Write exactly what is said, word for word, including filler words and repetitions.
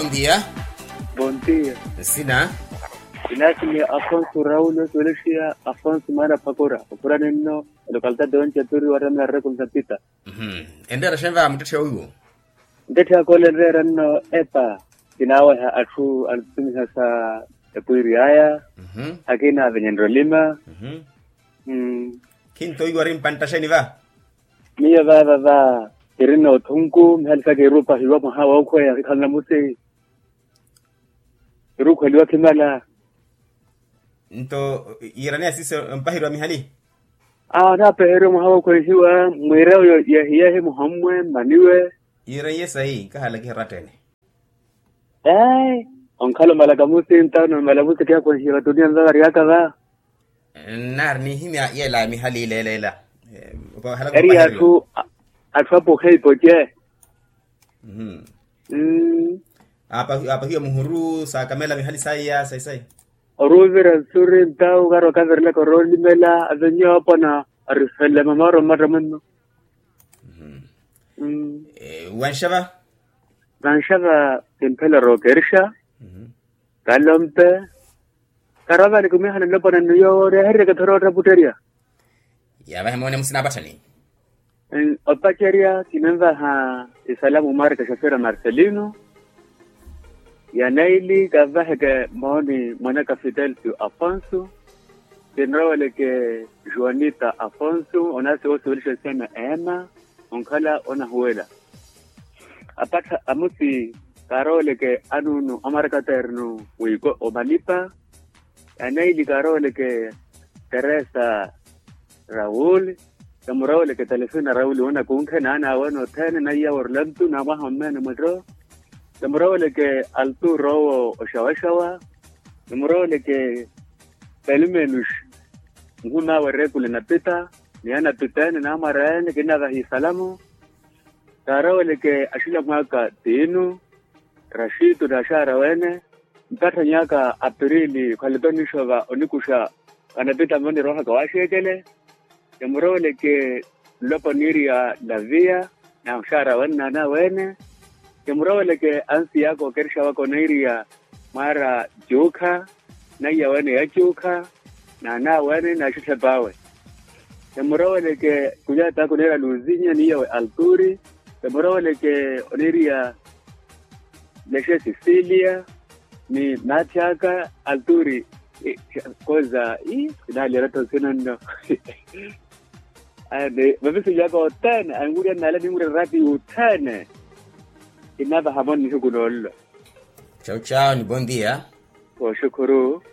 Bondia. Bondia. Nsina? Inasimiya afonso raul osiwelexiya afonso mara phakura okhurani nno, olokaltati onjapiri waramela rekonsa pita. Enreera xenva muttetthe owiwo? Ntetthe yakoole enreera nno epa, kinaaweha atthu antutumiha sa epwiiri aya. Akina avenyenrya olima. Khinto owiwa ori mpantta xeeni va? Miyo vaava va, kirinna othunku mihali saka iruupahiwa mwaha wookhweya khikhala namusi. Iruukhweliwa khimala. Nto yiiraneya siiso mpaheriwa mihali? Aa onaapeheriwa mwaha wookhwehiwa mwiirawo yehiyehi muhommwe mmaniwe. Yiiraiye sayi nkahala kihirattene. Eei, onkhala omalaka musinta onomala musi kihakhwenhiye vatuniya mvavariyaka va. Nnaari nihimya yeela ya mihali ileeleela. Eri atthu atthu apuhe ipoce. Aapahiwa muhuru saakamela mihali saiya saisayi. Oruuvira nsuri ntawu okaari okavirelaka oroolimela avenye oopona. Arifelele mamaaro mmatta mwenno. Wanxava. Vanxava kimphela rookerisha. Kalompe. Karoovani kumihana nlopona nnu yoowo oreheryeke thoro ottaputterya. Yavahe moone musina apatthani. Opacerya kinenvaha isalamu mwareke xafira marcelino. Ya naili kanvaheke mooni mwanaka fidelcio afonso. Kinrooweleke juanita afonso onasi woosiwelixa nseme ema onkhala onahuwela. Apattha amusi kaarooweleke anuunu amarakaternu wiiko omalipa. Anaili kaarooweleke teresa raul. Kamurooweleke telefina raul woona kunkhe naana aweene othene naiya worlantu na mwaha ommeene mwetto. Kamurooweleke altu roowo oxawaxawa. Kamurooweleke pelimenus. Nhumaawe rekule napita ni anapita ene naamwara ene kinnavaha isalamu. Kaarooweleke axila mwaaka tiinu. Raxitu n'axaara wene. Mpatthanyaka apirili khwalipenixa va onikuxa. Anapita moni roohaka waaxeekele. Kimurooweleke nlopo niiriya naviya n'axaara wene n'anaweene. Kimurooweleke ansiyaka okerixa waka oneeriya mwaara juukha. Naiya wene ya juukha n'anaweene n'axitthep'awe. Kimurooweleke kulyataka oneeriya luzinya n'iyawe alturi. Kimurooweleke oneeriya lexe sisilia ni maathyaka alturi. Koza ii kinaaliyana tho nsina nno. Ani vavisilyaka othene anwulya nnala ninwulya rati othene. Kinavaha moni nihiku noollo. Chau chau ni bondia. Kooxukhuru.